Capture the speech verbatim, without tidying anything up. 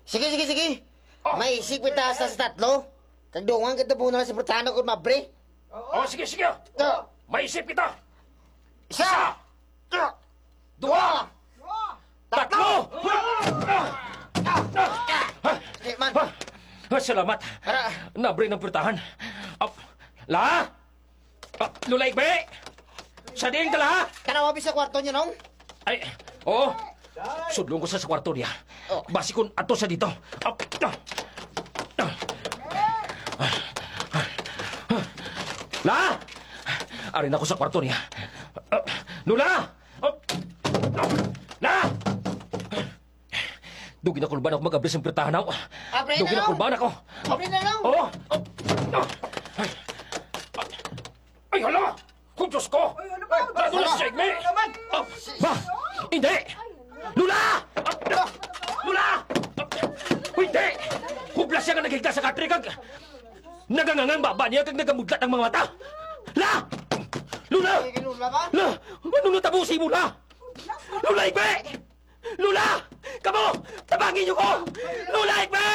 Sige, sige, sige. Oh. Maisip kita sa, sa tatlo. Kag dungan kita muna sa purtahan ako, mabre. Oh, sige, sige. Ah. Maisip kita. Isa. Isa. Dua. Tatlo. Tatlo. Ah. Ah. Eh, man. Ah. Ah, salamat. Ara. Nabre ng purtahan. Ah, la? Ah, Lola Igbe! Sa diin ka, la? Tanawa bi sa kwarto niya, nong? Ay, oo. Sudlon ko sa, sa kwarto niya. Oh. Basi kun ato sa dito. Ah, ah, ah, ah. La! Ari na ko sa kwarto niya. Ah, Lola! Ah, ah, La! Dugi na kulban ako mag-abri sang pirtahan, aw. Abri na, Dugi na Nong. Kulban ako. Abri na, Nong. Oo. Ay, hala! Oh, Diyos ko! Ay, ano ba? Ano na si Jaime? Ano naman? Ah, Ma! Hindi! Lola! Lola! Hindi! Hubla siya nga naghigda sa katre kag nagangangang baba niya kag nagamudlat ang mga mata! La! Lola! Ay, Lola ba? La! Ano natabo sa imo, La? Lola, Igbe! Lola! Kamo! Tabangi niyo ko! Lola, Igbe!